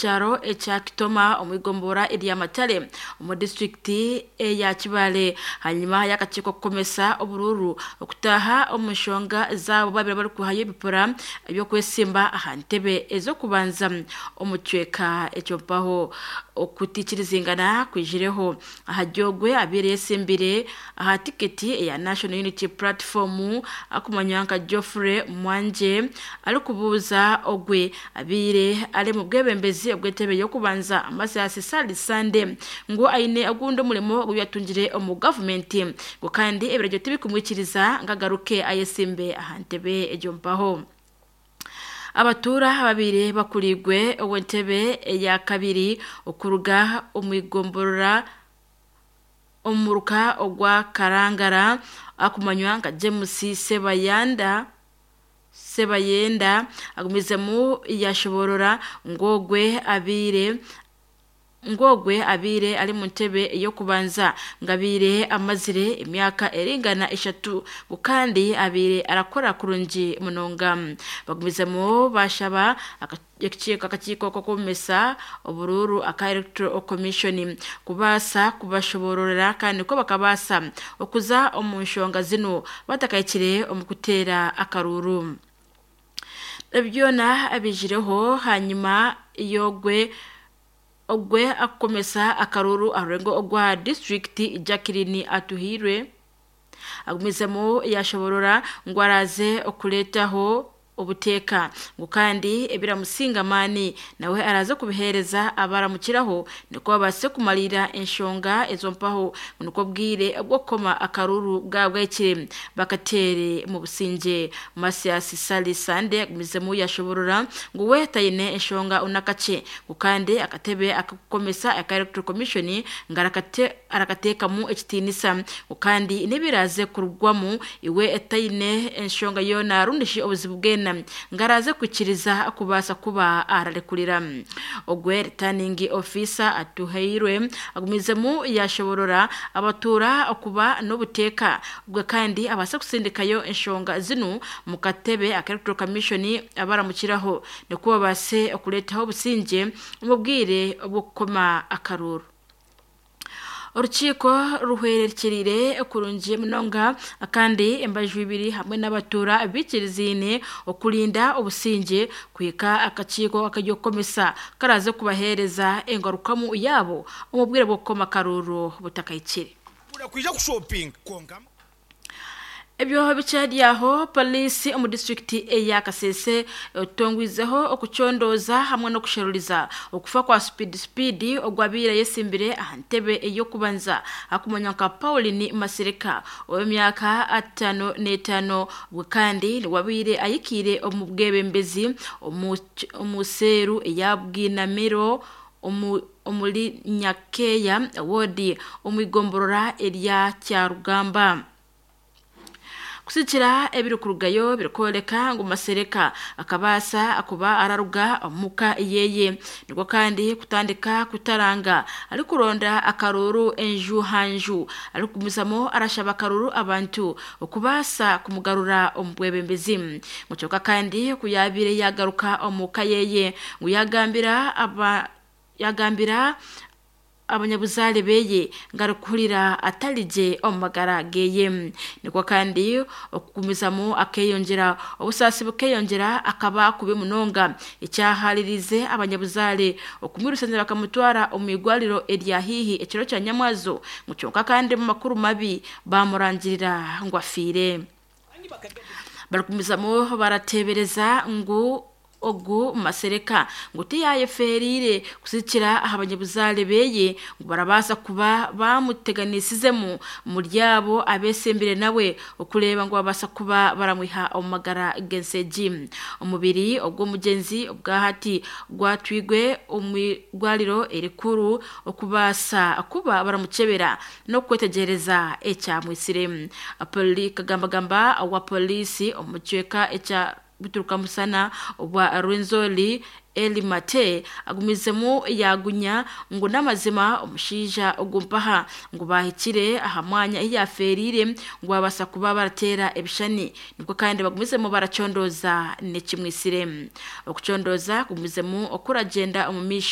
kyaro ekya Kitoma omu igombora erya Matale omu disitulikiti eya Kibaale hanyuma y'akakiiko kukomesa oburuuru okutaaha omu nshonga zaabo babiri barikuhayo ebipapura eby'okwesimba aha ntebe ez'okubanza omu kicweka ekyo. Mpaho okutikirizingana kwijireho aha Gyogwe abaire yesimbire aha tiketi eya National Unity Platform akumanywa nka Geoffrey Mwanje arikubuuza ogwe abaire ari mu bwebembezi obw'entebe y'okubanza Mathias Ssali Sande ngu aine ogundi omurimo ogu yatungire omu gavumenti ngu kandi ebiragiro tibikumwikiriza ngu agaruke ayesimbe aha ntebe egyo. Mpaho abatuura ababaire bakurigwe ow'entebe eya kabiri okuruga omu igomborora omuruka ogwa Karangara akumanywa nka James Sebayanda Sebayenda agumizemu yashoborora ngu ogwe abaire ngogwe abaire ari mu ntebe ey'okubanza ngabaire amazire emyaka eringana 3 ngu kandi abaire arakora kurungi munonga. Bagumizemu bashaba akakiiko k'okumesa oburuuru aka Electoral Commission kubaasa kubashobororera kandi ko bakabaasa okuza omu nshonga zinu batakahikire omu kuteera akaruuru. Byona bijireho hanyuma y'ogwe ogwe akukomesa akaruuru aha rurengo ogwa disitulikiti Jacqueline Atuhairwe agumizemu yashoborora ngu araze okureetaho obuteeka ngu kandi ebiramusinga amaani nawe araze kubiheereza abaramukiraho nikwo babaase kumalira enshonga ezo. Mpaho nikwo bwire bw'okukoma akaruuru bwabwekire bakateere mu busingye. Mathias Ssali Sande agumizemu yashoborora ngu we taine enshonga unakakye ngu kandi akatebe akakukomesa aka Electoral Commission ngu arakateekamu ekitiinisa ngu kandi n'ebiraze kurugwamu iwe etaine enshonga yoona rundishi obuzibu bwena ngu araze kwikiriza kubaasa kuba ararekurira. Ogwe returning officer Atuhairwe agumizemu yashoborora abatuura okuba n'obuteeka ubwe kandi abaase kusindikayo enshonga zinu mu katebe aka Electoral Commission abaramukiraho nikwo babaase okureetaho obusingye omu bwire bw'okukoma akaruuru. Orukiiko ruhwerekyerire kurungi munonga kandi embaju ibiri hamwe n'abatuura bikiriziine okurinda obusingye kuhika akakiiko akarikukomesa karaze kubaheereza engarukamu yaabo omu bwire bw'okukoma akaruuru butakahikire. Kwija kushopinga konka. Ebyo bikyari aho, poliisi omu disitulikiti eya Kasese etongwizeho okucondooza hamwe n'okusheruriza okufa kwa Speed Speed ogwabaire ayesimbire aha ntebe ey'okubanza akumanywa nka Pauline Masereka ow'emyaka 55 bwe kandi niwabaire ayikiire omu bwebembezi omu seeru eya Bwinamiro omuri Nyakeya ward omu igomborora erya Kyarugamba. Kusikira ebirikurugayo birikworeka ngu Masereka akabaasa kuba araruga omuka yeye nikwo kandi kutandika kutaranga arikuronda akaruuru enju ha nju arikugumizamu arashaba akaruuru abantu okubaasa kumugarura omu bwebembezi. Ngu kyonka kandi ku yabaire yagaruka omuka yeye ngu yagambira abanyabuzaare beye ngu arikuhurira atarigye omu magara geye, nikwo kandi okugumizamu akeyongyera obusaasi bukeyongyera akaba kubi munonga ekyaharirize abanyabuzaare okumwirusanira bakamutwara omu igwariro erya haihi ekiro kya nyamwazo. Ngu kyonka kandi omu makuru mabi bamurangirira ngu afiire. Barikugumizamu barateebereza ngu ogu Masereka ngu tiyayefeerire kusikira aha banyabuzaare beye ngu barabaasa kuba bamuteganisizemu muri abo abesimbire nawe okureeba ngu babaasa kuba baramwiha omu magara g'ensi. Omubiri ogw'omugyenzi obwahati gwatwirwe omu igwariro erikuru okubaasa kuba baramukyebera n'okwetegyereza ekyamwisire. Kagambagamba wa poliisi omu kicweka ekya Bituruka Musana obwa Rwenzori Eli Mate agumizemu yagunya ngu n'amazima omushaija ogu mpaha ngu bahikire aha mwanya ahu yafeerire ngu babaasa kuba barateera ebishushani nikwo kandi bagumizemu baracondooza n'ekimwisire. Okucondooza kugumizemu okuragyenda omu maisho.